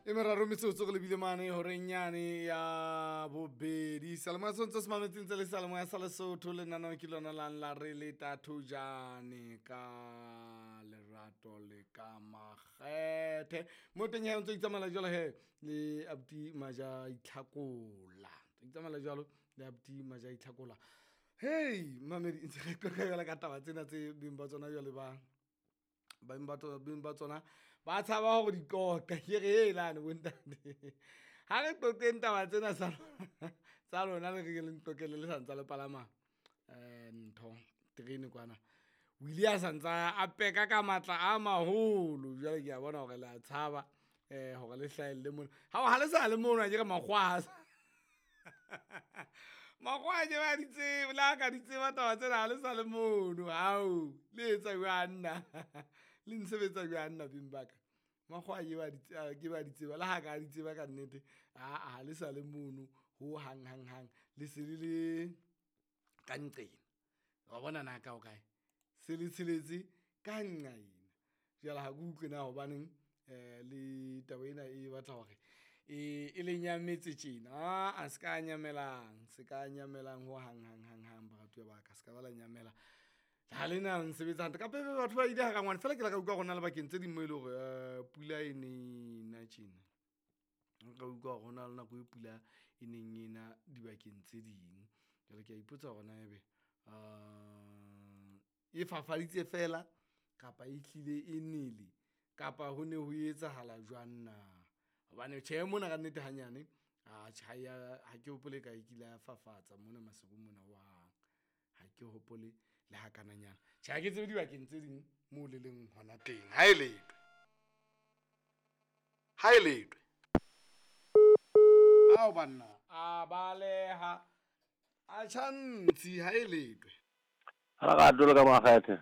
E meraro metsotso re lebile mane horeng yane ya bobedi. Salemoya se ntse se mametse ntse le salemoya sa Lesotho. Lenaneo ke lona lang la re le tathojane ka lerato le ka makgethe. Mo teng he o ntso itsamaela jwalo he le abuti Maja Itlhakola. Ntso itsamaela jwalo le abuti Maja Itlhakola. Hey mamedi ntse re qoqa jwale ka taba tsena tse beng ba tsona jwale ba beng ba tsona beng ba tsona ba tshaba hore di qoqa. Ke re helane bontate. Ha re qoqeng taba tsena tsa lona le re ke le nqoqele le sa ntsa le palama ntho terene kwana. O ile a santsa a peka ka matla a maholo. Jwale ke a bona hore le a tshaba hore le hlahelle mona. Ha le sa le mono akere makgowa makgowa ke ba di tsebe le ha ka di tseba taba tsena ha le sa le mono. Hao le etsa jwang nna? Le nsebetsa jwang nna beng ba ka? Makgowa ke ba di ke ba di tseba le ha ka di tseba ka nnete. Aa ha le sa le mono ho hang hang hang. Le se le le ka nqena. Wa bona na ka o kae? Se le tsheletse ka nqaena. Jwale ha ke utlwe na hobaneng le taba ena e batla hore e le nyametse tjena. Aa se ka nyamelang, se ka nyamelang ho hang hang hang hang baratuwa ba ka. Se ka ba la nyamela. Ha le na nsebetsa hantle. Kapa ebe batho ba ile ha rangwane. Feela ke la ka utlwa hore hona le bakeng tse ding mo e le hore pula e ne na tjena. Nka utlwa hore hona le nako e pula e neng e na dibakeng tse ding. Jwale ke a ipotsa hore na ebe e fafaditse feela kapa e hlile e nele kapa ho ne ho etsahala jwang na. Hobane tjhe mona ka nnete hanyane atjhe ha ya ha ke hopole ka e kile ya fafatsa mona Maseru mona hohang. Ha ke hopole le hakananyana. Tjhe ha ke tsebe dibakeng tse ding moo le leng hona teng. Ha e letwe. Ha e letwe. Ao banna, a baleha. A tjha ntshi ha e letwe. Lerato le ka makgethe.